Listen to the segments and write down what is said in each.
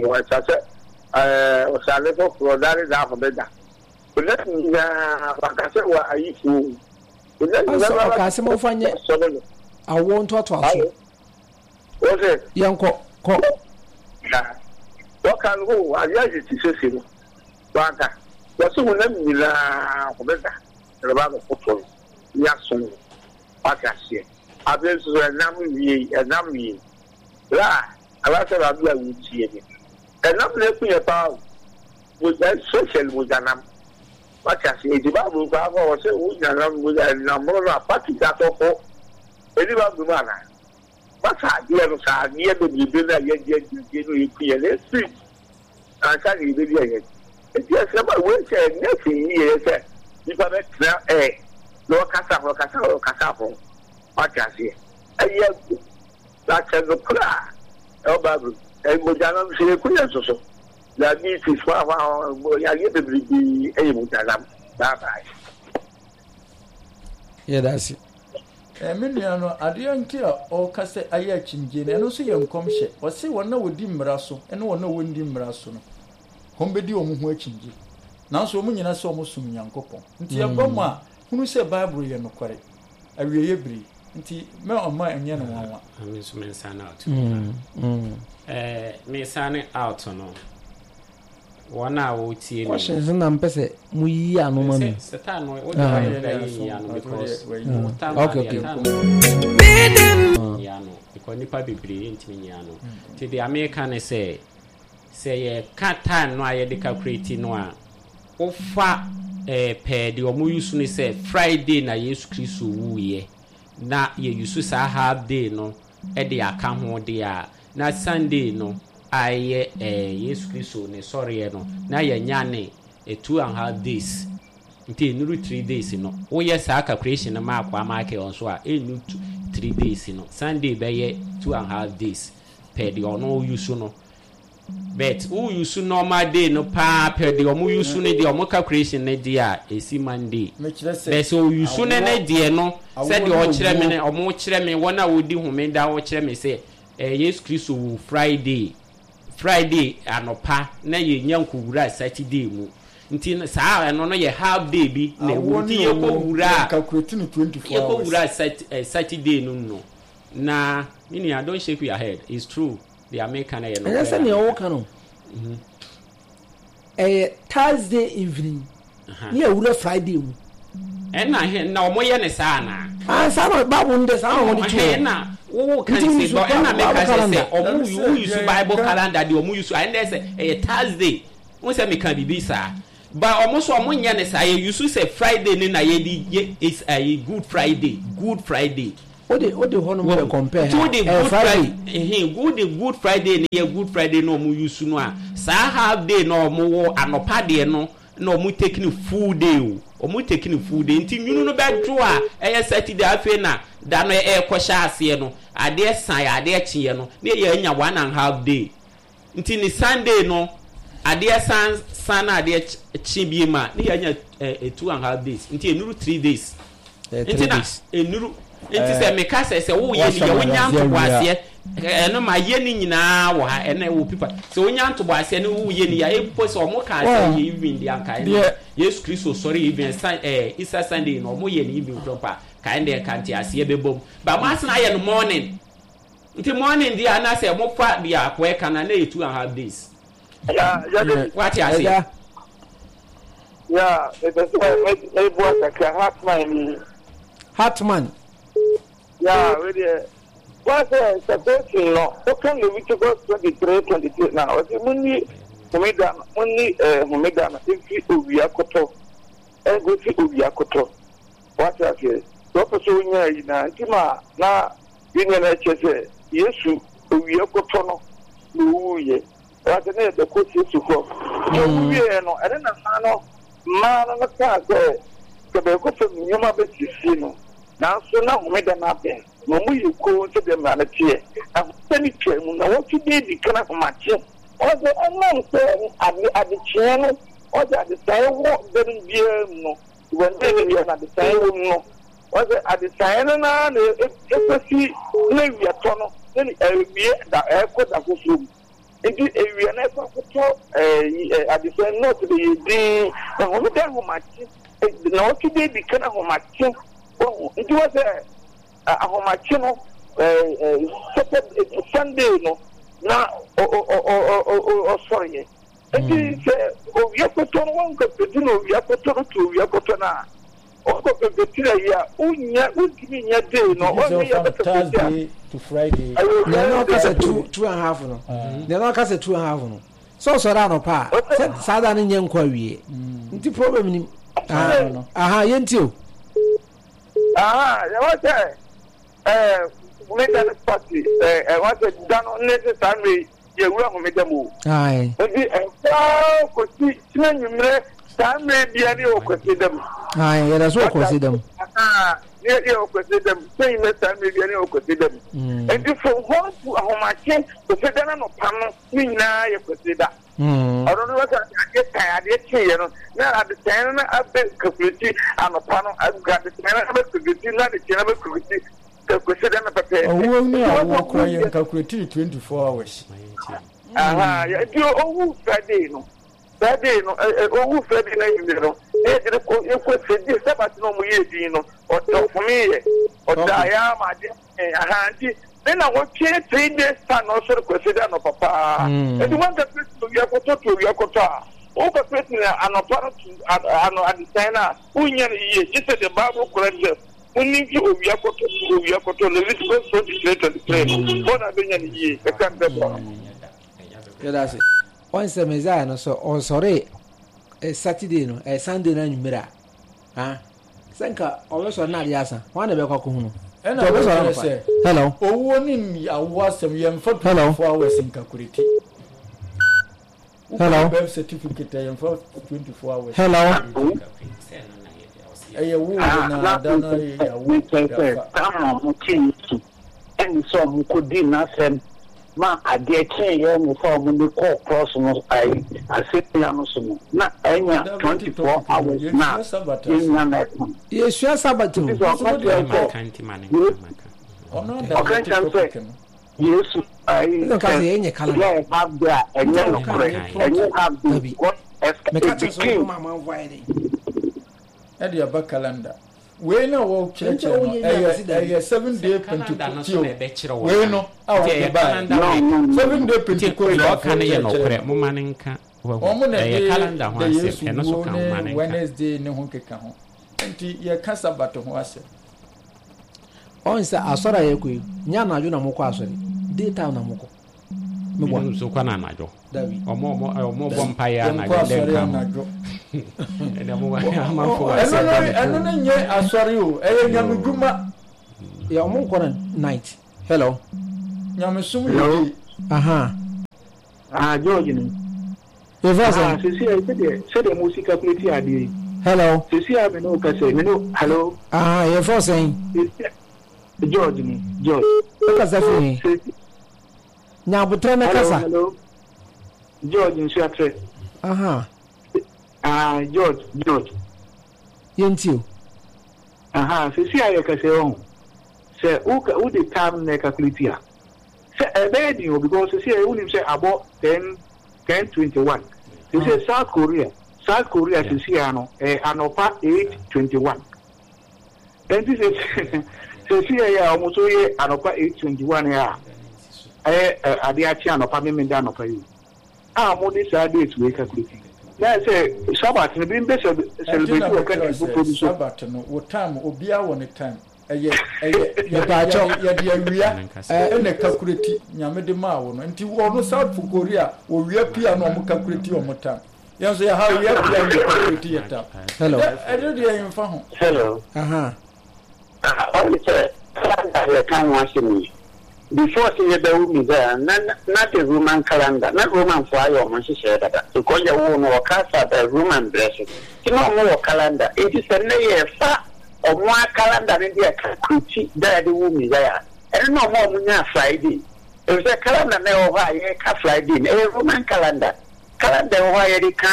Ɛsɛ sɛ ɛɛ ɔsrane foforɔ da ne da homeda. Honam nyinaa wanka sɛ wɔ ayifoɔ o. Honam Ɔsɛ nyinaa ɔkaa sɛ momfa nyɛ sɔre no. awoɔ ntoatoasoɔ. Wɔsɛ. Yɛnkɔ, kɔ. Na wɔka no o adeɛ ayɛ ti sese no wanka. Wɔsɛ honam nyinaa homeda na bɛba abɛkoto no ne asom no. Wate aseɛ. Afei nso so ɛnam wie ɛnam wie. Bra anaasɛ rabi a wotie me. Ɛnam na ɛku yɛ paa o. Mogya especially mogyanam. Wate aseɛ. Enti Bible koraa kɔ wɔ sɛ wonya nam mogya ɛnam mono no a fa ti atɔfo. Ɛni Bible mu anaa? Fa saa adeɛ no saa adeɛ bebrebe no a yɛdi adi adeɛ no ɛku yɛn no ɛfiri ansa na yɛbɛdi ayɛ. Enti ɛsɛ ma wei sɛ ɛnyɛ hwee yie yɛ sɛ nipa bɛtena ɛ na ɔkasa ho ɔkasa ho ɔkasa ho. Wate aseɛ. Ɛyɛ na sɛ nokorɛ a ɛwɔ Bible mu. Mogyanam nso yɛku yɛn nso so. Diabetes hwahwa yareɛ bebrebe ɛyɛ mogyanam. Bye bye. Yɛda ase. Eh, me nua no, adeɛ nti a ɔreka sɛ ayɛ akyinnyie no, ɛno nso yɛ nkɔmhyɛ. Ɔse wɔn a wɔdi mmara so ne wɔn a wɔnni mmara so no, wɔbɛdi wɔn ho akyinnyie. Nanso wɔn nyinaa sɛ wɔsom Nyankopɔn. Nti ɛba mu a, hunu sɛ Bible yɛ nokware. Awieeɛ bere yi. Nti mɛ ɔma ɛnyɛ no nwanwa. Me nso me nsa no out. Eh, me nsa no out no. Wɔn a wɔretie me. Questions na mpɛ sɛ mo yiyi ano ma mi. Sɛ time no wode ayɛ da yɛ nyi ano because time okay okay. Nyi ano because nipa bebree yɛntumi nyi ano. Nti deɛ meka ne sɛ sɛ yɛka time no a yɛde calculate no a wofa eh, pɛɛ deɛ wɔn use no sɛ Friday na Yesu Kristo wuiɛ na yɛ use saa half day no de aka ho deɛ a na Sunday no a ɛyɛ eh, Yesu Kristo ne sɔreɛ no, na yɛanya ne eh, 2½ days. Nti ɛnuru 3 days no. Woyɛ saa calculation no ma akoa Michael nso a, ɛnuru 3 days no. Sunday bɛyɛ 2½ days pɛ deɛ ɔno use no. But wo use normal day no paa pɛ deɛ ɔmo use no deɛ ɔmo calculation no deɛ a ɛsi Monday. Mekyerɛ sɛ Bɛ sɛ ɔuse no ne awoɔ deɛ no awoɔ sɛdeɛ ne ɔkyerɛ me owuo. no ɔmo kyerɛ me wɔn a wɔdi homeda wɔkyerɛ me sɛ eh, Yesu Kristo wu Friday Friday anɔpa na yɛnya nkɔwura Saturday mu nti no saa ɛno no yɛ half day bi na ɛwɔ mu Awoɔ nti ne yɛkɔ owuo wura yɛn calculate no 24 yɛkɔ hours. wura Saturday no mu no na me nua, don't shake your head, it's true, deɛ meka no yɛ Ɛnyɛ nokorɛ sɛ na nea meka. wɔka no ɛyɛ Thursday evening ne yɛwura Friday mu. Ɛna he na ɔmo yɛ ne saa anaa? Ah, saa na Bible no de saa na wɔde to Ɛhɛn hɔ. na wo kan Nti se wusu bɔ ɛna Bible meka sɛ sɛ calendar. ɔmo Ɛne sɛ wo use deɛ Bible yɛka calendar deɛ ɔmo use ɛnna sɛ ɛyɛ Thursday n sɛ meka biribi saa ba ɔmo so ɔmo nyɛ ne saa yɛ use sɛ Friday ne na yɛde yɛ is ɛyɛ Good Friday, Good Friday. Wode hɔ nom bɛ compare Nti ha wode ɛyɛ Good Friday. Friday wode Good Friday ne yɛ Good Friday na ɔmo use no a saa half day na ɔmo wɔ anɔpa deɛ no na ɔmo take ne full day o, ɔmo take ne full day nti nwunu no bɛdwo a ɛyɛ Saturday afei na da no ɛrekɔhyɛ aseɛ no adeɛ san yɛ adeɛ kyeɛ no na yɛ anya 1½ day nti ne Sunday no adeɛ san san na adeɛ kye bie ma ne yɛ anya 2½ days nti enuru 3 days. Ɛyɛ Nti three na days. enuru nti sɛ meka sɛ woyɛ ne Wasɛm yɛ wonya adanseɛ ntobo wie a. aseɛ ɛno ma yɛ ne nyinaa wɔ ha ɛna ɛwɔ pipa sɛ wonya ntobo aseɛ ne woyɛ ne yɛ mpo sɛ ɔmo kaa sɛ Well, yɛ evening deɛ anka ɛno deɛ Yesu Kristo sɔre evening san Easter Sunday no ɔmo yɛ ne evening kura mpo a kae deɛ nka nte aseɛ bɛbɔ mu ba mo asena ayɛ no morning nti morning deɛ anaasɛ mo fa deɛ akɔɛ ka na na yɛ 2½ days. Ya, yɛde Wate aseɛ? Ɛgya. Ya, mepɛ sɛ meboa kakra Hartman ni. Hartman. Ya, wei deɛ wɔn sɛ separation no woka Leviticus 23:23 na ɔsɛ munni homeda no munni homeda no mfi owia kɔtɔ ɛnkosi owia kɔtɔ. Wate aseɛ? Sɛ wɔpɛ sɛ wonya yi na nti ma na yɛn nyinaa kyerɛ sɛ Yesu owia kɔtɔ no na owuiɛ. Wate ne yɛbɛkɔ Yesu hɔ. Nti ɔwu wieɛ no ɛne na mmaa no mmaa no no kaa sɛ sɛ bɛkɔ fam nneɛma bɛsiesie no nanso na homeda no abɛn na ɔmo yɛ komm sɛdeɛ mmara no teɛ na homeda no twaa mu na wɔtwe de adi kan ahomakye. Ɔsɛ ɛnam sɛ ade adekyeɛ no ɔsɛ adesaeɛ wɔ da no biara mu no wɔn no biara na adesaeɛ wɔ mu no ɔsɛ adesaeɛ no naa na ɛkɔsi na wiatɔ no na awie da ɛkɔ da foforɔ mu. Nti ewia no ɛkɔ akɔtɔ ɛɛ adesɛn nɔɔso de yɛ din na homeda ahomakye na ɔtwe de edi kan ahomakye wɔho nti wɔ sɛ ahomakye no ɛɛ Saturday Sunday no na ɔsɔre yɛ nti sɛ owia kɔtɔ no wɔn kɔpɛti na owia kɔtɔ no to owia kɔtɔ no a wɔn kɔpɛti na yi a wonya wontumi nya day no wɔn yɛ bɛkɛ Thursday to Friday. Nea na ɔka sɛ two and a half no nea na ɔka sɛ 2½ no sɛ ɔsɔre anɔpa a sɛ saa da no nyɛ nkɔ awie nti problem nim aha yɛnti o. Aha yɛwɔ sɛ ɛɛ homeda no party ɛɛ ɛwɔ sɛ da no ne sɛ saa mmerɛ yi yɛwura homeda mu o. Nti ɛkɔ kɔsi kyena nwummerɛ saa mmerɛ bia ne yɛwɔ kwasi da mu. Yɛda so wɔ kwasi da mu. Ne yɛwɔ kwasi da mu sɛ nyina saa mmerɛ bia ne yɛwɔ kwasi da mu. Nti from hɔ to ahomakye kwasi da no anɔpa no ne nyinaa yɛ kwasi da. Ɔno no sɛ adeɛ tan adeɛ kyeeɛ no na adekyɛn no na abɛ kakuleti anɔpa no adekyɛn no abɛ kakuleti na adekyɛn no abɛ kakuleti kwasi da no pɛpɛɛpɛ. Owuo ne awoɔ koraa yɛn kakuleti 24 hours. Aha nti owu Friday no Friday no owu Friday no anwummerɛ no na yɛde no kɔ yɛkɔ sɛdi Sabbath na ɔmo yɛ din no ɔfome yɛ ɔda yɛ ama adeɛ aha nti ne na wɔtwe 3 days time na ɔsɔre kwasi da anɔpa paa nti wɔn calculate no owia kɔtɔ to owia kɔtɔ a wɔn calculate no anɔpa no to ano adesan no a wonya no yie gye sɛ the Bible correct sɛ wonni fi owia kɔtɔ to owia kɔtɔ Leviticus 23:23 no wɔn na bɛnya no yie ɛka mpɛ bɔ. Yɛda ase. Wɔn sɛ Messiah no sɛ ɔsɔre Saturday no Sunday no anwummerɛ a ah sɛ nka ɔbɛsɔre na adeɛ asa wɔn na ɛbɛkɔ akɔhu no. Ɛna wɔkyerɛ sɛ hello owuo ne awoɔ asɛm yɛmfa 24 hours nkakureti. Hello. Birth certificate yɛmfa 24 hours. Hello. Ɛyɛ wo na da no yɛ awo sɛ saa ɔmo te Yesu ɛne sɛ ɔmo kɔdi n'asɛm ma adeɛ kyeeɛ ne sɛ ɔmo de kɔɔ cross no ayi asɛnnua no so no na ɛnya 24 hours na yɛnya no ɛka. Yɛsua Sabbath o. Nti sɛ ɔka kyerɛ sɛ ɔka kyerɛ sɛ Yesu ayi sɛ yɛ half day a ɛnyɛ nokorɛ ɛnyɛ half day because Meka kyerɛ sɛ ɛbɛkin ɔmo amanfo ayɛ dɛ. Ɛde aba calendar wei na wɔkyerɛkyerɛ no ɛyɛ ɛyɛ 7 day Pentecost o wei no a wɔde ba 7 day Pentecost na ɔka no yɛ nɔkorɛ moma ne nka wɔn na ɛyɛ de calendar ho de asɛm Yesu ɛno so wuo ka moma ne ne nka. Wednesday ne ho keka ho nti yɛka Sabbath ho asɛm. Ɔn sɛ asɔre a yɛkɔ yi nyɛ anadwo na mokɔ asɔre day time na mokɔ. Meboa. Ebinom nso kɔ no anadwo. Dabi. Ɔmo ɔmo ɔmo bɔ mpaeɛ Yɛnkɔ anadwo dɛ asɔre nka ho. anadwo. Ɛnna mo amanfo wɔ Ɛno asɛm no da ne ɛno no nyɛ asɔre o ɛyɛ nyamedwuma. Yɛ ɔmo nkɔ no night. Hello. Nyamesom yɛ day. Aha. Ah George ni. Yɛfrɛ Ah sɛn? sisi a sɛdeɛ sɛdeɛ mo si calculate adeɛ yi. Hello. Sisi a me ne wo kasa yi me ne hello. Aha yɛfrɛ sɛn? Sisi a George ni George. Wokasa firi he? Sisi Nya abotrɛ ne hello kasa. hello George Nsuatrɛ. Aha. Ah George George. Yɛntie o. Aha sisi a yɛ kasa yi ɔho sɛ wo wo de time na calculate a sɛ ɛbɛyɛ den o because sisi a wonim sɛ abɔ 10:21 sisi South Korea South Korea sisi a no ɛyɛ anɔpa 8:21 nti sisi sisi yɛ a wɔn nso yɛ anɔpa 8:21 yɛ a ɛyɛ ɛ adeɛ akye anɔpa mímí da anɔpa yi a wɔn de saa date wei calculate na sɛ Sabbath no bi mbɛ Ɛnti celebrate na wɔ mekyerɛ country sɛ foforɔ bi so. Sabbath no wo time obiara wɔ ne time ɛyɛ ɛyɛ yɛde Mepaakyɛw. yɛde yɛde awia Ɛ ɛna calculate nyame de maa wo no nti ɔno South Korea owia pia na ɔmo calculate ɔmo time yɛn nso yɛ ha owia pia na yɛ calculate yɛ time Hello. ɛdɛ ɛde deɛ yɛn fa ho. Hello. Aha. Ɔne sɛ calendar yɛka ho asɛm yi before sɛ yɛbɛwo Messiah na na the Roman calendar na Roman fo ayɛ ɔmo nhyehyɛeɛ dada because yɛwoo no wɔ Kasa Roman berɛ so nti na ɔmo wɔ calendar nti sɛ nnɛ yɛfa ɔmo a calendar no de calculate da yɛde wo Messiah ɛno na ɔmo a ɔmo nyaa Friday efisɛ calendar na ɛwɔ hɔ a yɛka Friday no ɛyɛ Roman calendar calendar ɛwɔ hɔ a yɛde ka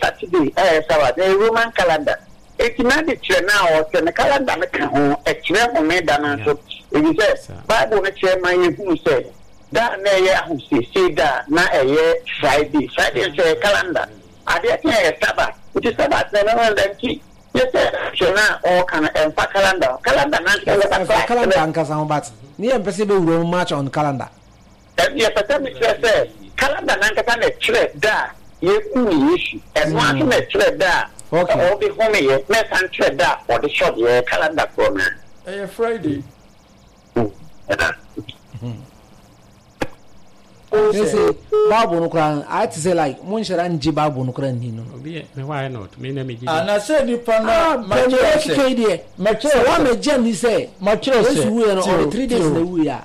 Saturday a ɛyɛ Sabbath ɛyɛ Roman calendar eti na de kyerɛ na ɔsɛ ne calendar no ka ho ɛkyerɛ homeda no nso efisɛ Bible no kyerɛ ma yɛhunu sɛ. Da a na ɛyɛ ahosiesie da a na ɛyɛ Friday. Friday nso ɛyɛ calendar. Adeɛ kye a ɛyɛ Sabbath. Nti Sabbath no ɛno no da nti nyɛ sɛ hwɛ no a ɔreka no ɛmfa calendar ho. Calendar no ankasa Ɛfa bɛba calendar ankasa ho but ne yɛmpɛ sɛ yɛbɛwura mu much on calendar. Ɛno yɛpɛ sɛ mekyerɛ sɛ calendar no ankasa na ɛkyerɛ da a yɛkuu Yesu. Ɛno ara nso na ɛkyerɛ da a ɔde homeeɛ na ɛsan kyerɛ da a ɔde sɔreɛ. Ɛyɛ calendar korɔ no ara. Ɛyɛ Friday. Sese Bible no koraa ayɛ te sɛ like mo nhyɛ da ngye Bible no koraa nni no. Obi yɛ me why not me na me gye di. Ah na sɛ nipa no ah makyerɛ sɛ keke deɛ makyerɛ sɛ wa mɛ gye ni sɛ makyerɛ sɛ Yesu wuiɛ no ɔde 3 days na wuiɛ a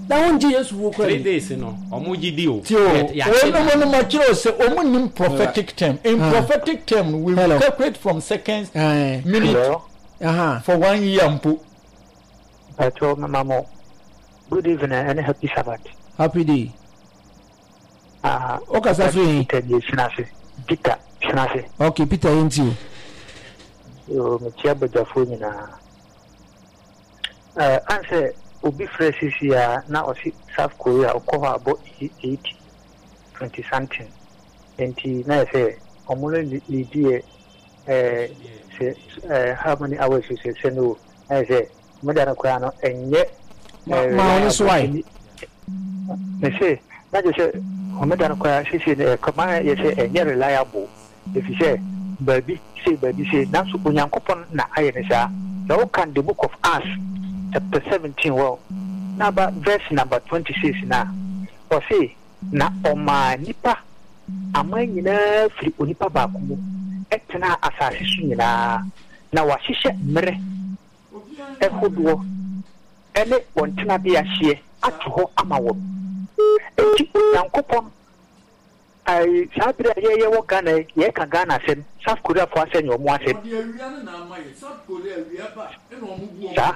na wɔn gye Yesu wuo koraa 3 days no ɔmo gye di o. Tio wɔn no makyerɛ sɛ ɔmo nim prophetic term in prophetic term we calculate from seconds minute for one year mpo. Mpakyɛw mema mo good evening ɛne happy sabbath. Happy day. Ah, Wo kasa firi he? Peter nie Sinase. Peter Sinase. Okay, Peter yɛn ti o. Yoo, mekyia badwafoɔ nyinaa. Eh, ansɛ obi frɛ sisi a na ɔse South Korea ɔkɔ hɔ a bɔ 8 20 something. Nti na yɛ sɛ ɔmo no leadi yɛ eh, sɛ eh, how many hours sɛ sɛ no Ayɛ sɛ homeda no koraa no ɛnyɛ Ma ma ɔno so wae. Mese na kyerɛ sɛ homeda no koraa seesei no ɛkɔma yɛ sɛ ɛnyɛ reliable efisɛ baabi sei baabi sei nanso Onyankopɔn na ayɛ no saa. Sɛ wokan the book of Acts chapter 17 hɔ na aba verse number 26 no a, ɔse na ɔmaa nnipa aman nyinaa firi onipa baako mu tenaa asase so nyinaa. Na wɔahyehyɛ mmerɛ hodoɔ ne wɔn tenabea hyeɛ ato hɔ ama wɔn. Enti Onyankopɔn, ae, saa berɛ a yɛyɛ wɔ Ghana yi, yɛreka Ghana asɛm, South Koreafoɔ asɛm nyɛ wɔn asɛm. Saa.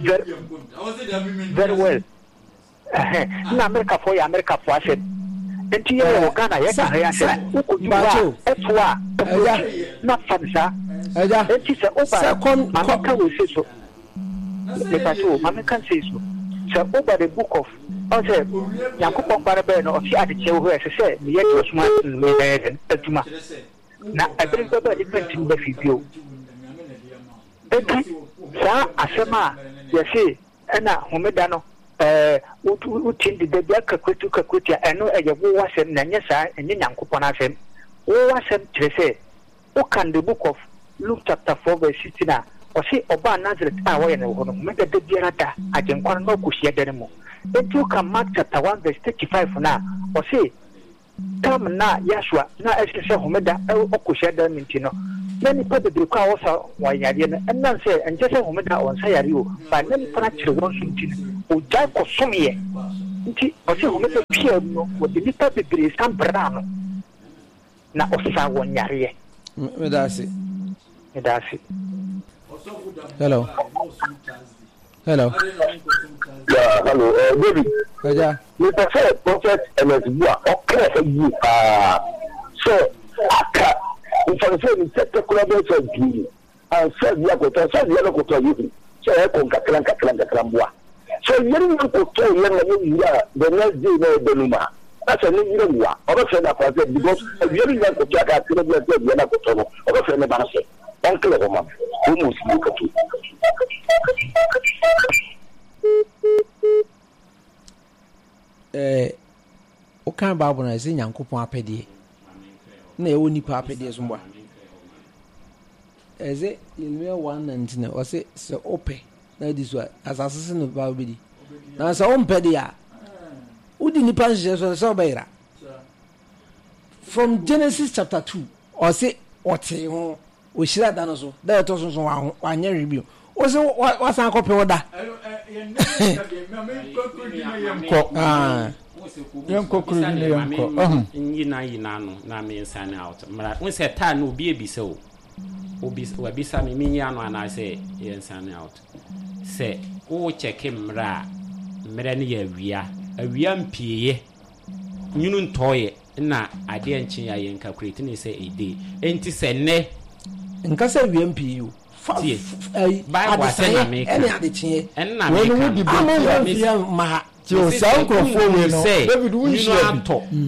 Very, very well. Ɛhɛn, nna Amerikafoɔ yɛ Amerikafoɔ asɛm. Nti yɛ yɛwɔ Ghana yɛka ha yi asɛm, wokɔdu hɔ a, ɛto a, ɛkɔ na fa no saa. Nti sɛ woba, ma menka wei sei so, mepa kyɛw o, ma menka sei so. Sɛ woba the book of, ɔhu sɛ Nyankopɔn Ba no bɛɛ no, ɔse adekyeɛ wɔ hɔ a ɛsɛ sɛ meyɛ deɛ ɔsoma me no yɛ dɛn? Adwuma. Na ɛbere bi bɛba a nnipa ntumi mma fie bio. Enti saa asɛm a yɛse Ɛna homeda no ɛɛ wotim deda bi aka kurotu ka kurotu a ɛno ɛyɛ wo asɛm na ɛnyɛ saa ɛnyɛ Nyankopɔn asɛm. Wo asɛm kyerɛ sɛ wokan the book of Luke chapter 4 verse 16 a ɔse ɔbaa Nazareth a wɔyɛ no wɔ hɔ no homeda da biara da Agyenkwa no na ɔkɔ hyiadan no mu. Enti wokan Mark chapter 1 verse 35 no a ɔse Tam no a Yahshua na ɛsɛ sɛ Homeda ɔkɔ hyiadan mu nti no, na nnipa bebree kɔ a wɔsa wɔn yareɛ no, ɛnam sɛ ɛnkyɛ sɛ Homeda wɔnsa yareɛ o, but na nnipa no akyere wɔn so nti no, ɔgyae kɔsomeeɛ. Nti ɔse Homeda twaa mu no, wɔde nnipa bebree san braa no, na ɔsaa wɔn yareɛ. Meda ase. Meda ase. Hello. Hello. Yeah, hello. David. Ɛgya. Mepɛ sɛ Prophet Ernest Bua ɔka ɛha yie paa sɛ aka mfa no sɛ ne tɛtɛ koraa bɛyɛ sɛ pii ansa awia akɔtɔ ansa awia no kɔtɔ a yɛhu sɛ ɛkɔ nkakra nkakra nkakra mboa sɛ awia no nya nkɔtɔɔ yɛ ma yɛwura the next day na ɛbɛ no mu a na sɛ ne yerɛ wu a ɔbɛfrɛ no akora sɛ because awia no nya nkɔtɔ aka akra bi ansa awia no akɔtɔ no ɔbɛfrɛ ne ba no sɛ ɔnkele hɔ ma me almost bi kɔtɔ. Eh, wokan Bible no a, ɛsɛ Nyankopɔn apɛdeɛ na ɛwɔ nipa apɛdeɛ so mboa. Ɛsɛ Yeremia 1:19 ɔsɛ sɛ wopɛ na adi so a asase so no ba wobɛdi. Na sɛ wompɛ deɛ a wodi nipa nhyehyɛ so sɛ wobɛyera. From Genesis chapter 2 ɔse ɔtee ho Ɔhyira da no so, da a ɛtɔ so nso wanyɛ hwee bio. Wo se wasan akɔpɛ wo da. Yɛnkɔ kuro bi na yɛnkɔ. Ɔho. Nyina nyina no na me nsan out. Mmara wo sɛ taa no obi ebisa o. Obi wabisa me menyi ano anaasɛ yɛn sign out. Sɛ wo kyɛke mmerɛ a mmerɛ no yɛ awia. Awia mpieeɛ. Nwunu ntɔeɛ. Nna adeɛ nkye a yɛn calculate ne sɛ a day. Enti sɛ nnɛ. Nka sɛ awia mpii o. Fa Tie. ayi Bible asɛm na adesaeɛ meka. ɛne adekyeɛ. Ɛno na Wei no meka wodi no. Ama baabi a. nfa mfiri mma ha. Ti o saa nkurɔfoɔ wei no David wo nhyia bi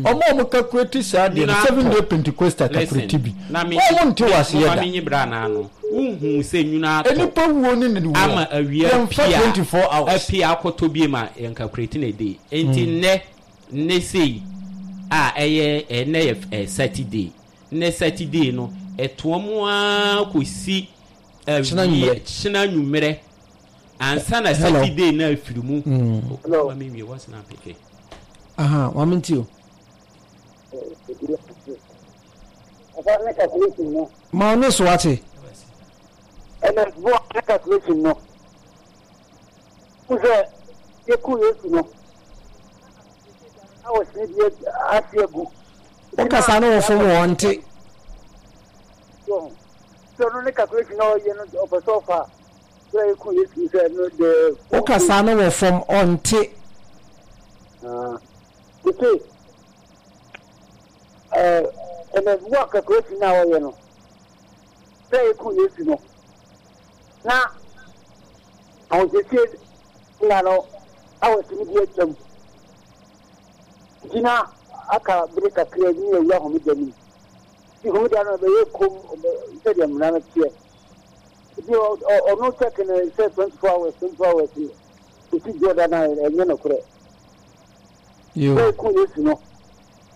ɔmo a ɔmo calculate saa deɛ no seven day Pentecostal calculate bi ɔmo nte wɔ aseɛ da. Menyi bra na ano wohu sɛ nwunu atɔ Nipa wuo ne ne wuo ama awia yɛnfa pia 24 hours. apia akɔtɔ biem a yɛn calculate na ɛde nti nnɛ nnɛ sei a ɛyɛ ɛnɛ yɛ Saturday nnɛ Saturday no ɛtoa mu ara kɔsi awia kyena nwummerɛ Ansa na Saturday na afiri mu. Hello. Mami wie what's na peke. Aha, mami nti o. Ɔfa ne calculation no. Ma ɔne so ate. Ɛna bo ne calculation no. Wosɛ yɛku Yesu no. Na wɔsi bi ase agu. Wokasa no wɔ fam wɔ nte. Sɛ ɔno ne calculation na ɔyɛ no ɔpɛ sɛ ɔfa. Wo kasa no wɔ fam ɔnte. Mese, ɛnɛ wo calculation na ɔyɛ no, sɛ eku Yesu no, na ahosiesie nna no awɔsi no bi atwam, nti na aka bere kakra bi ne awura homeda no mu. Nti homeda no ɛbɛyɛ kom sɛdeɛ mmara no teɛ. Nti ɔno check no sɛ 24 hours 24 hours ɛsi dwoɔ da no a ɛnyɛ nokorɛ. Sɛ ɛku Yesu no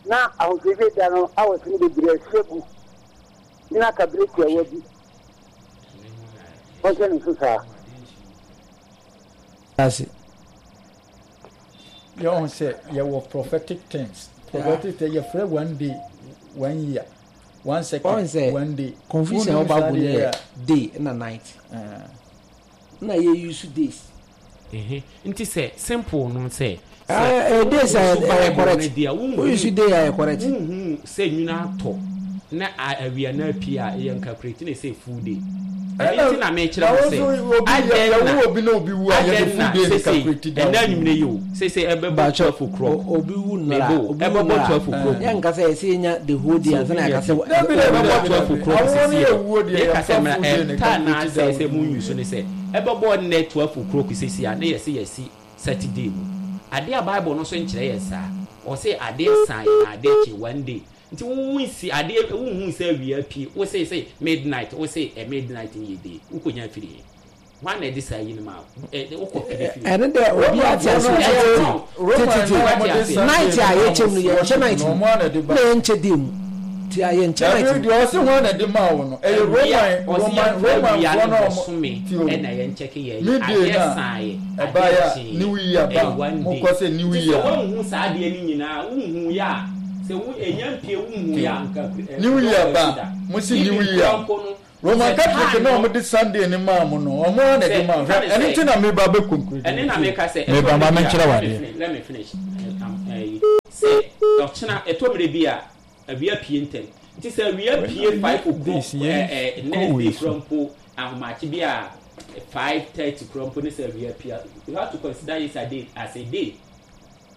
na ahosiesie da no hours no bebree asi agu na aka bere tiawa bi ɔnhyɛ ne nso saa. Ase. Yɛhu sɛ yɛwɔ prophetic things. Prophetic things yɛfrɛ one day one year. One second, one day. Confusion a ɔba bu no yɛ day na night. Na yɛ use days. Nti sɛ simple no sɛ. Ɛɛ days a ɛyɛ correct. Wo use day a ɛyɛ correct. Wohu sɛ nwunu atɔ na awia na apue a ɛyɛ nkakureti na ɛsɛ full day. Ɛno nti na mekyerɛ mo sɛ adɛn na adɛn na sese ɛnna anwummerɛ yi o sese ɛbɛbɔ 12 o'clock obi wu nnora mebo obi wu ɛbɛbɔ nnora 12 o'clock yɛn nka sɛ yɛsɛ yɛnya the whole day ansa na yɛaka sɛ ɛbɛbɔ 12 o'clock sese yɛka sɛ mmra ɛta na sɛ sɛ mo nyu so ne sɛ ɛbɛbɔ nnɛ 12 o'clock sese a ne yɛsɛ yɛsi Saturday mu adeɛ a Bible no so nkyerɛ yɛn saa ɔse adeɛ san yɛ na adeɛ kye one day Nti wo wo nsi adeɛ wo nhuu sɛ awia apue wo se se midnight wo se ɛ midnight no yɛ day wo kɔ nya firi he hwan na ɛde saa yi no maa wo ɛ wo kɔ pere firi Ɛno dɛ obi ate ase tete tete night a yɛkyɛm no yɛnkyɛ night mu na yɛnkyɛ day mu ti a yɛnkyɛ night mu. Dabi deɛ ɔse hwan na ɛde maa wo no ɛyɛ Roman Roman Roman foɔ na ɔmo ti o ɛna yɛnkyɛke yɛ ne day adeɛ na san yɛ ɛbaeɛ adeɛ a kyeeɛ new year ba ɛyɛ one mo day kɔ sɛ new nti sɛ year. woanhu saa adeɛ no nyinaa wonhu yɛ a Sɛ wo enya mpie wo nhu ya nka eh, New year ba mo si new year Roman Catholic na wɔn de Sunday ne maa mo no wɔn ara na ɛde maa hwɛ ɛno nti na meba bɛ conclude ɛne na meka sɛ meba ma menkyerɛ wo adeɛ. Let me finish sɛ ɔkyena ɛtɔ mmerɛ bi a awia pie ntɛm nti sɛ awia pie 5 o'clock next day kura mpo ahomakye bi a 5:30 kura mpo ne sɛ awia pie you have to consider yesterday as a day.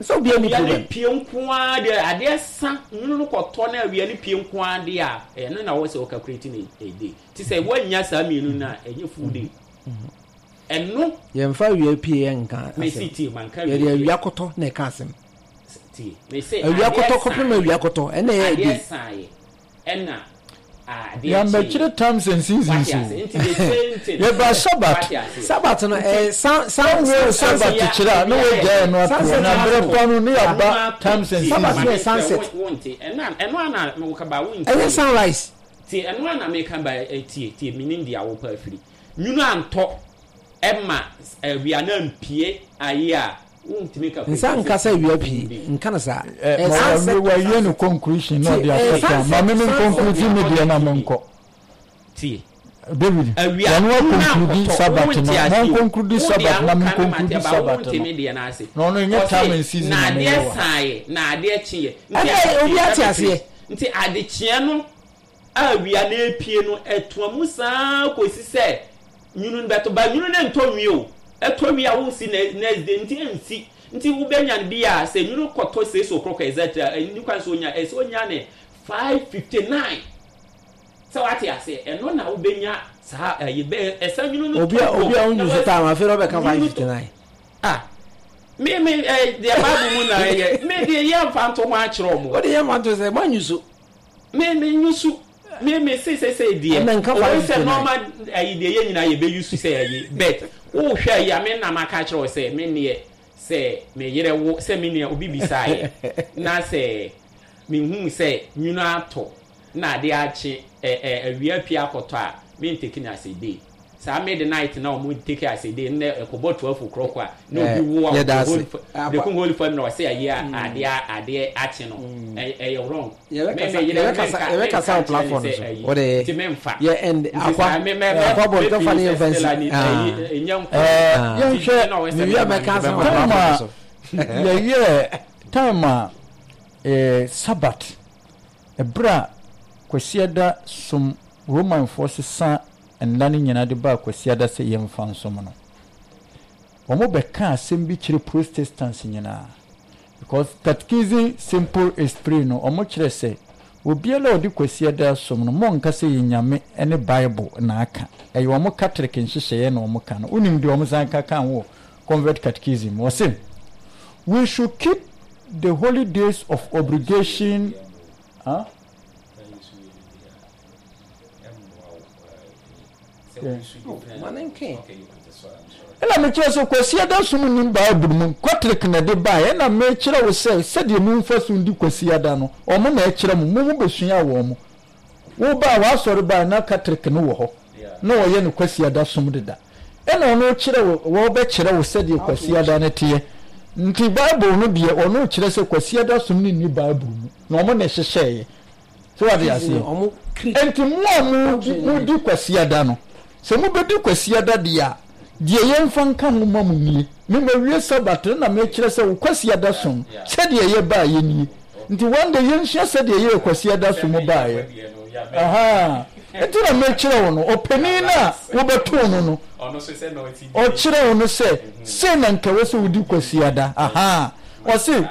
Sɛ obiara nni Awia no problem. pue nko ara deɛ adeɛ sa nwunu no kɔtɔ na awia no pue nko ara deɛ a ɛno na wɔwɔ sɛ wɔ calculate no a day nti sɛ woannya saa mmienu no a ɛnyɛ full day ɛno. Yɛmfa awia pue yɛ nka Mesi asɛm. tie manka awia Yɛde pue. awia kɔtɔ na ɛka asɛm. Tie mese Awia adeɛ kɔtɔ kɔpem saeɛ awia kɔtɔ ɛna ɛyɛ a adeɛ day. saeɛ ɛna adeɛ Yɛammɛkyerɛ kyeeɛ. times and seasons Wate o. ase nti the same thing Yɛbaa Sabbath. wate ase Sabbath no nti ɛyɛ san san Wowie san Sabbath sunset. kyerɛ a na woagyae ɛno ato hɔ Sunset na na mmerɛ ato. pa no ne Nwoma yɛaba ato times and tie Sabbath ma no seasons. yɛ me nkyerɛ sunset. wo wonte ɛna ɛno a na meka ba wontie Ɛnyɛ sunrise. Tie ɛno a na meka ba tie tie menim deɛ wopɛ afiri nwunu antɔ ɛma awia no ampie ayi a wontumi ka Nsa kwati nka sɛ sɛ awia full pie day. nka no saa. Eh, Ɛyɛ ma sunset wawie to wawie no sunset. conclusion na Tie ɔde ɛyɛ akɔ town. Ma sunset me to me sunset. conclude me deɛ na menkɔ. Tie. David, Awia, wɔn wo na conclude akɔtɔ, Sabbath wonte no, ase wɔn o. conclude Wo deɛ Sabbath na me woka no mate conclude aba, Sabbath wonte no. me deɛ no ase. Na ɔno ɛnyɛ time Ɔse, and season na na meyɛ adeɛ wɔ ha. saeɛ, na adeɛ kyeeɛ. Nti Ɛnna ade, obi let ate me aseɛ. finish. Nti adekyeɛ no a awia no repue no, ɛtoa mu saa kɔsi sɛ nwunu no bɛtɔ. But nwunu no ntɔ nwie o. Ɛtɔ wie a wonsi next day, nti ɛnsi. Nti wobɛnya no bi a, sɛ nwunu kɔtɔ 6 o'clock exactly a, ɛnni kwan sɛ onya, ɛsɛ onya no 5:59. Sɛ wate aseɛ, ɛno na wobɛnya saa ɛyi bɛ ɛsɛ nwunu no Obi a tɔ obi a na ɔnyu so wa time afei na ɔbɛka nwunu no tɔ 5:59. ah. Me me ɛ deɛ Bible mu na ɛyɛ. Me deɛ yɛ nfa nto ho akyerɛ ɔmo. O de yɛ nfa nto sɛ mo anyi so. Me me nyi so. Me me se sɛ sɛ deɛ. Ɛnna nka Owó sɛ 559. normal ayi deɛ yɛ nyinaa yɛ bɛ use sɛ ayi but wo hwɛ ayi a me na ma ka kyerɛ wo sɛ me neɛ sɛ me yerɛ wo sɛ me nua obi bisaa yɛ na sɛ me hu sɛ nwunu atɔ na ade akye ɛ ɛ awia pie akɔtɔ a me ntake no as a day. Saa midnight na wɔn take as a day nnɛ ɛkɔbɔ 12 o'clock a na obi wo a Yɛda ase. Berekum Holy Family na ɔsɛ ayi a adeɛ adeɛ akye no ɛyɛ wrong. Yɛbɛkasa yɛbɛkasa yɛbɛkasa wɔ platform no so. Wode nti memfa. Yɛ end akwa akwa bɔ ntɔfa ne yɛmfa nsi. Yɛnhwɛ Mewia mɛka asɛm wɔ time platform no a so. yɛyɛɛ time a eh, Sabbath ɛberɛ a Kwasiada som Romanfoɔ sesa nna no nyinaa de baa Kwasiada sɛ yɛmfa nsom no. Wɔbɛkaa asɛm bi kyerɛ Protestants nyinaa because Catechism Simple Esprit no wɔkyerɛ sɛ obiara a ɔde Kwasiada som no monnka sɛ ɛyɛ Nyame ne Bible na aka, ɛyɛ wɔn Catholic nhyehyɛeɛ na wɔka no. Wonim deɛ wɔsan ka kaa ho wɔ Convent Catechism mu? Wɔse, We should keep the holy days of obligation. Huh? Ɛna mekyerɛ sɛ Kwasiada som nnim Bible mu, Catholic na ɛde baeɛ, ɛna mekyerɛ wo sɛ sɛdeɛ momfa so ndi Kwasiada no, wɔn na ɛkyerɛ mo, mo mobɛsua wɔn. Wo baa w'asɔre baa na Catholic no wɔ hɔ, na wɔyɛ no Kwasiada som deda. Ɛna ɔno kyerɛ wo, wɔbɛkyerɛ wo sɛdeɛ Kwasiada no teɛ. Nti Bible no deɛ ɔno kyerɛ sɛ Kwasiada som no nni Bible mu, na wɔn na ɛhyehyɛeɛ. So wate aseɛ? Enti mo a modi Kwasiada no, sɛ mobɛdi Kwasiada deɛ a, deɛ yɛmfa nka ho mma mo nie, Me mawie Sabat no na mekyerɛ sɛ wo Kwasiada som, sɛdeɛ ɛyɛ baeɛ nie. Nti one day yɛnsua sɛdeɛ ɛyɛɛ Kwasiada som baeɛ. Ahaa. Nti na mekyerɛ wo no, ɔpanin no a wobɛtoo no no, ɔkyerɛ wo no sɛ, sei na nka ɛwɔ sɛ wodi Kwasiada. Ahaa. Ɔse,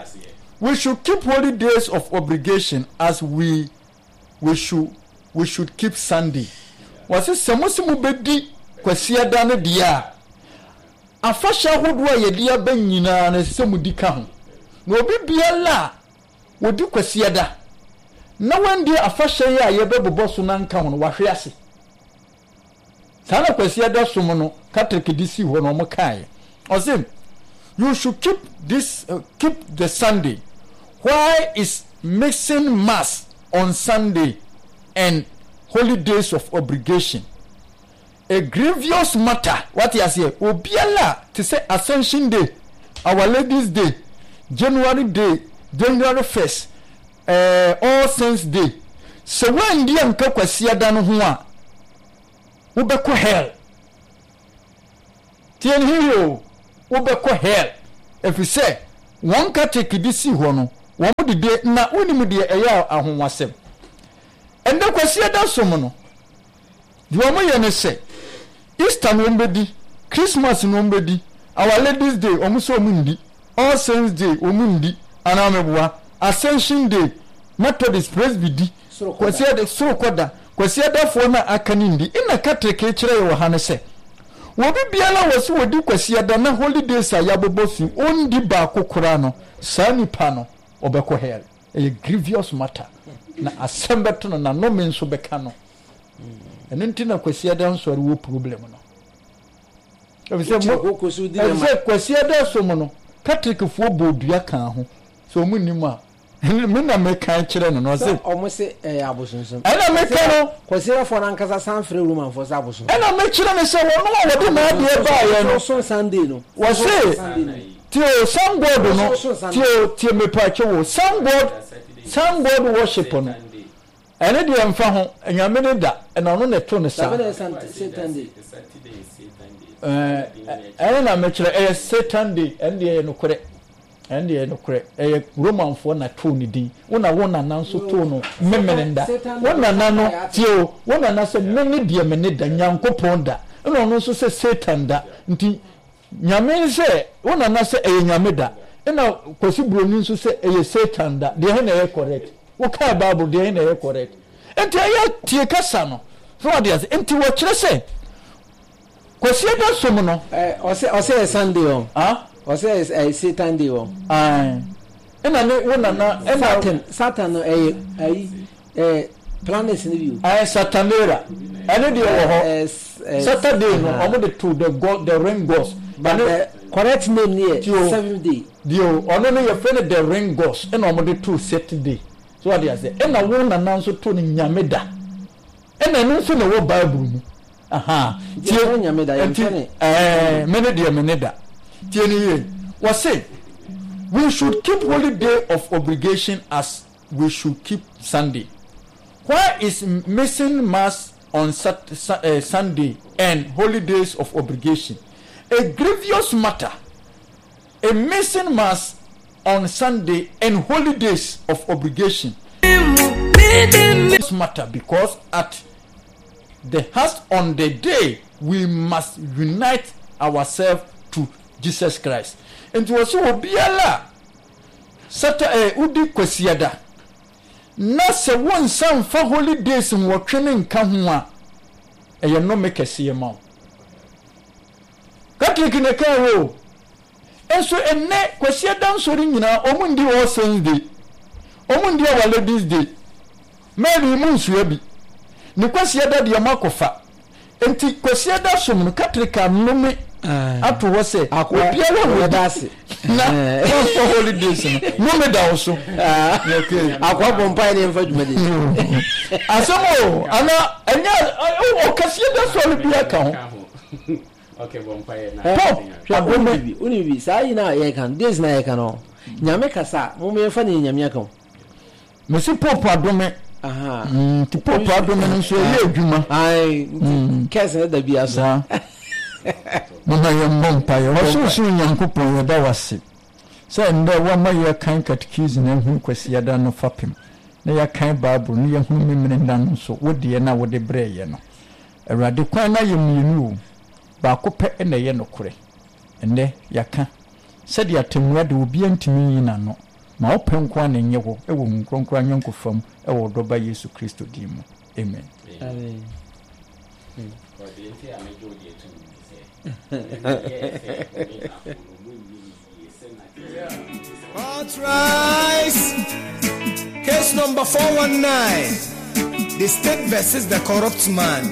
We should keep holy days of obligation as we we should we should keep Sunday. Wɔse sɛ mo se mobɛdi Kwasiada no deɛ a, afahyɛ ahodoɔ a yɛde aba nyinaa no ɛsɛ sɛ modi ka ho. Na obi biara a ɔdi Kwasiada na wandi afahyɛ yi a yɛbɛbobɔ so no anka ho no, wahwe ase. Saa na Kwasiada som no Catholic de sii hɔ no wɔn kaeɛ. Ɔse you should keep this uh, keep the Sunday. Why is mixing mass on Sunday and holy days of obligation a grievous matter? Wate aseɛ? Obiara te sɛ Ascension Day, Our Lady's Day, January Day, January 1st, eh, All Saints Day. Sɛ woandi anka Kwasiada no ho a, wobɛkɔ hell. Tie no yiye o, wobɛkɔ hell. Efisɛ wɔn Catholic de sii hɔ no, wɔn de de, na wonim deɛ ɛyɛ ahonhwasɛm. Ɛnnɛ Kwasiada som no, Deɛ wɔyɛ ne sɛ, Easter no wɔbɛdi, Christmas no wɔbɛdi, Our Lady's Day wɔn sɛ wɔn nni, All Saints Day wɔn nni, anaa meboa? Ascension Day, Methodist, Presby di, Kwasiada, Sorokɔda, Kwasiadafoɔ no a aka no nni. Nna Catholic rekyerɛ yɛ wɔ ha ne sɛ, obi biara a wɔse wɔdi Kwasiada na Holy Days a yɛabobɔ so yi, ɔndi baako koraa no, saa nipa no, ɔbɛkɔ hell. Ɛyɛ grievous matter. Na asɛm bɛto no, na nnome nso bɛka no. Ɛno nti na Kwasiada nsɔre wɔ problem no. Efisɛ mo efisɛ Kwasiada som no Katolekfoɔ bɔ dua kaa ho sɛ wɔn nnim a me na meka kyerɛ no na ɔse. Wɔn se ɛyɛ abosonsom. Ɛna meka no. Kwasiadafoɔ no ankasa san frɛ Romanfoɔ sɛ abosonsom. Ɛna mekyerɛ no sɛ wɔn a wɔde n'adeɛ baeɛ no. Wɔso Sunday no. Wɔse tie o sun god no tie o tie mepaakyɛ wo sun god sun god worship no. Ɛno deɛ ɛmfa ho, Nyame ne da, na ɔno na ɛto no saa. Ɛno na mekyerɛ, ɛyɛ Satan day, ɛno deɛ ɛyɛ nokorɛ. Ɛno deɛ ɛyɛ nokorɛ, ɛyɛ Romanfoɔ na too ne din. Wo na wo nana nso too no Memeneda. Wo nana no, tie o, wo nana sɛ mene deɛ mene da, Nyankopɔn da. Ɛna ɔno nso sɛ Satan da. Nti Nyame sɛ, wo nana sɛ ɛyɛ Nyame da, ɛna Kwasi Broni nso sɛ ɛyɛ Satan da, deɛ he na ɛyɛ correct? Wo kae Bible, deɛ he na ɛyɛ correct? Nti ɛyɛ tie kasa no, so wate ase? Nti wɔkyerɛ sɛ Kwasiada som no. Ɔsɛ ɔsɛ yɛ Sunday ɔ. Ah? Ɔsɛ ɛyɛ Satan day wɔ. Ae. Ɛna ne wo nana ɛna. Satan Satan no ɛyɛ ayi ɛɛ planets no bi o. Ɛɛ Satanera ɛno deɛ wɔ hɔ. Saturday no wɔn de to the god the ring gods. But the correct name ni yɛ seventh day. Deɛ ɔno no yɛfrɛ no the ring gods ɛna wɔn de to Saturday. So wate aseɛ? Ɛna wo nana nso to no Nyame da. Ɛna ɛno nso na ɛwɔ Bible mu. Aha. Tie. Yɛfrɛ Nyame da, yɛmfrɛ ne. Ɛɛ, me ne deɛ me ne da. Tie ne yie. Wɔse, we should keep holy day of obligation as we should keep Sunday. Why is missing mass on Sat uh, Sunday and holy days of obligation a grievous matter? A missing mass on Sunday and holy days of obligation matter because at the heart on the day we must unite ourselves to Jesus Christ. Nti wɔ sɛ obiara a sata ɛ wodi kwasiada na sɛ wonsa mfa holy days nwɔtwe no nka ho a ɛyɛ nnome kɛseɛ ma wo. Catholic na ɛkaa hɔ o. Nso ɛnnɛ Kwasiada nsɔre nyinaa wɔn ndi All Saints Day, wɔn ndi Our Ladies Day. Mary mu nsua bi. Ne Kwasiada deɛ mo akɔfa. Nti Kwasiada som no Catholic anome ato hɔ sɛ obiara wɔ di na wɔmfa holidays no nome da wo so. Akoa bɔ mpae ne yɛmfa dwumadi. Asɛm o ana ɛnyɛ ɔkɛseɛ da sɔre bi aka ho. Pop adome. Wonim bi saa yi na yɛka no days na yɛka no nyame kasa a mo yɛmfa ne nyame aka ho. Mesi pop adome. Nti pop adome no nso ɛyɛ adwuma. Nti kɛse no da bi aso. Mama yɛmmɔ mpaeɛ. Ɔsorosoro Nyankopɔn yɛda wo ase sɛ nnɛ woama yɛakan katekism na ahunu Kwasiada no fapem na yɛakan Bible na yɛahunu Memeneda no nso wo deɛ no a wode brɛɛ yɛn no. Awurade, kwan no ayɛ mmienu o, baako pɛ na ɛyɛ nokorɛ. Ɛnnɛ, yɛaka, sɛdeɛ atɛmmuo de obiara ntumi nyi n'ano. Ma wo pɛ nko ara na ɛnyɛ hɔ wɔ Honhom Kronkron ayɔnkofa mu wɔ wo Dɔ Ba Yesu Kristo din mu. Amen. Amen. All rise. Case number 419. The state versus the corrupt man.